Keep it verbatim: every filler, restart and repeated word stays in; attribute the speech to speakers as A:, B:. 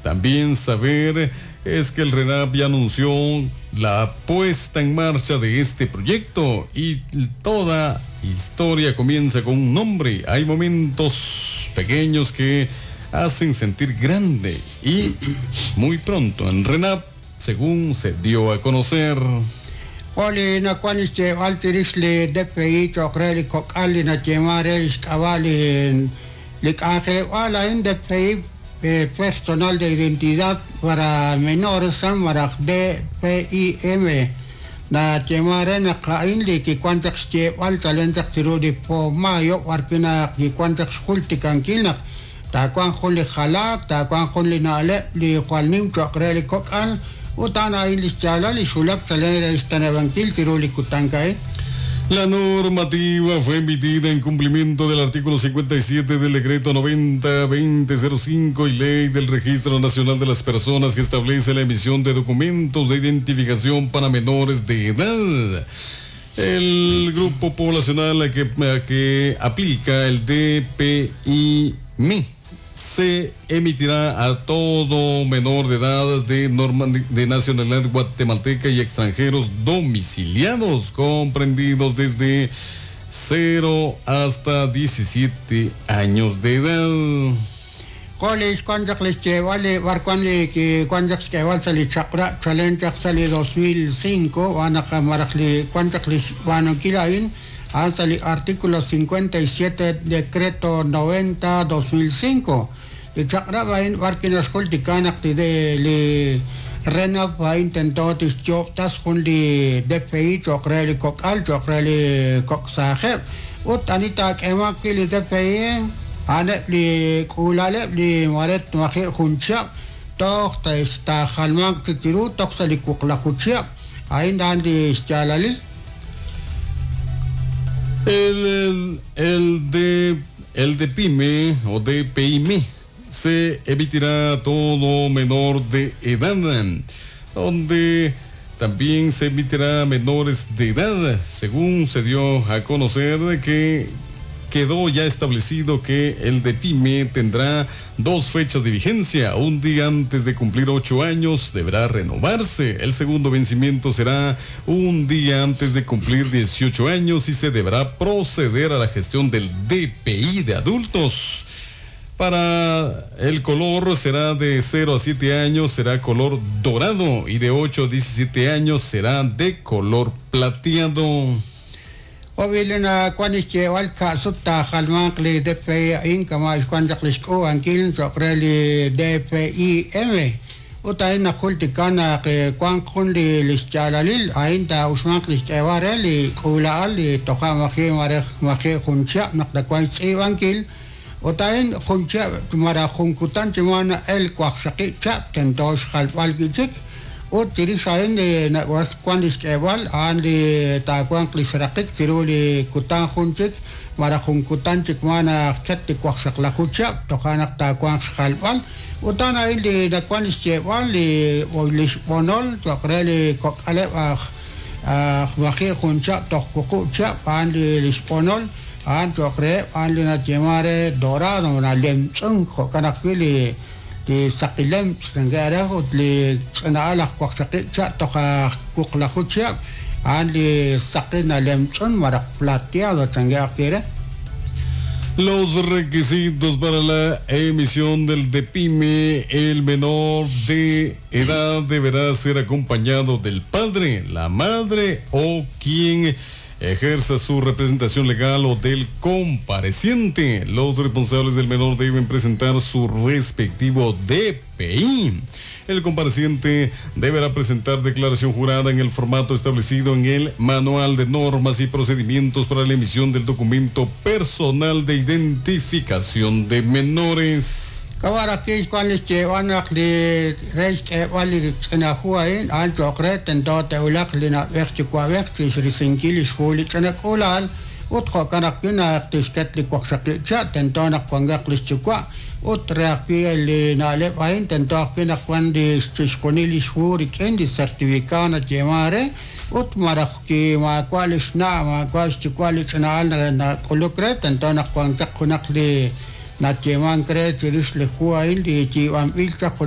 A: También saber es que el RENAP ya anunció la puesta en marcha de este proyecto y toda historia comienza con un nombre. Hay momentos pequeños que hacen sentir grande y muy pronto en RENAP, según se dio a conocer.
B: Oli nakuan xyeeb'al chirix li D P I cho'q re li kok'al li nayeeman re li xk'ab'a' li li k'anjeleb'aal a'in D P I eh, Personal de Identidad para Menores malaj D P I M nayeeman re naq a'in li kiwan chaq xyeeb'al chalen chaq chiru li po mayo b'arwi' naq kiwan chaq xjultikankil naq taawanq jun li jalaak taawanq jun li na'leb' li jwal nim cho'q re li kok'al ut a'an a'in li xyaalal li xwulak chalen re xteneb'ankil chiru li kutan a'in.
A: La normativa fue emitida en cumplimiento del artículo cincuenta y siete del decreto noventa veinte cero cinco y ley del Registro Nacional de las Personas, que establece la emisión de documentos de identificación para menores de edad. El grupo poblacional a que, a que aplica el D P I M se emitirá a todo menor de edad de, norma, de nacionalidad guatemalteca y extranjeros domiciliados, comprendidos desde cero hasta diecisiete años de edad.
B: Jolis wan chaq li xyeeb'al li b'arwan li kiwan chaq xk'eeb'al sa' li chaq'rab' chalen chaq sa' li dos mil cinco wan naq malaj li wan chaq li xb'aanunkil a'in a'an sa' li artículo cincuenta y siete decreto noventa dos mil cinco li chaq'rab' a'in b'ar kinaxjultika naq li de li RENAP a'in tento tixyoob'tas jun li D P I cho'q re li kok'al cho'q re li kok' saajeb' ut ani taak'eemanq wi' li D P I a'aneb' li k'uulaleb' li maret maji' jun chihab' toj taajalmanq chik chiru toj sa' li wuqlaju chihab' a'in a'an li xyaalalil.
A: El, el, el de el de PYME o de P I M E se emitirá a todo menor de edad, donde también se emitirá a menores de edad, según se dio a conocer que quedó ya establecido que el de PYME tendrá dos fechas de vigencia. Un día antes de cumplir ocho años deberá renovarse. El segundo vencimiento será un día antes de cumplir dieciocho años y se deberá proceder a la gestión del D P I de adultos. Para el color será de cero a siete años, será color dorado, y de ocho a diecisiete años será de color plateado.
B: Obvio na kwan xyeeb'al ka'sut taajalmanq li D P I a'in kama' xwan chaq li xk'uub'ankil cho'q re li D P I M ut a'in najultika naq wanq jun li li xyaalalil a'in taa'uxmanq li xk'eeb'al re li k'uula'al li toja' maji' marej maji' jun chihab' naq tawanq xtz'iib'ankil ut a'in jun chihab' malaj jun kutan chi wan el waqxaqib' chihab' tento xjalb'al wi'chik ut chirix a'in li wan li xk'eeb'al a'an li taawanq li xraqik chiru li kutan jun chik malaj jun kutan chik wan ket li waqxaqlaju chihab' toja' naq taawanq xjalb'al ut a'an a'in li nawan li xyeeb'al li li xb'onol cho'q re li kok'aleb' aj aj maji' jun chihab' toj wuqub' chihab' a'an li li xb'onol a'an cho'q reheb' a'an li nayeeman re dorado nalemtz'unk jo'kan ajwi' li li saqilem tz'ange'rej ut li ch'ina'al aj waqxaqib' chihab' toj aj wuqlaju chihab' a'an li saqi nalemtz'un malaj plateado change'aj wi' re.
A: Los requisitos para la emisión del DPIME: el menor de edad deberá ser acompañado del padre, la madre o quien ejerza su representación legal o del compareciente. Los responsables del menor deben presentar su respectivo D P I. El compareciente deberá presentar declaración jurada en el formato establecido en el Manual de Normas y Procedimientos para la emisión del documento personal de identificación de menores.
B: Kawarakis kwan li xyeeb'al naq li re xk'eeb'al li ch'ina hu a'in a'an cho'q re tento te'wulaq li na'b'ej yuwa'b'ej chixrisinkil li xhu li ch'ina k'uula'al ut jo'kan ajwi' naq tixket li waqxaqib' chihab' tento naq wankaq li xyuwa' ut re ajwi' li na'leb' a'in tento ajwi' naq wan li chixjunil li xhu rik'in li certificado nayeeman re ut malaj ki maawa' li xna' maawa' xyuwa' li ch'ina'al nak'uluk re tento naq wankaq junaq li nayeeman re chirix li hu a'in li yiib'anb'il chaq junaq.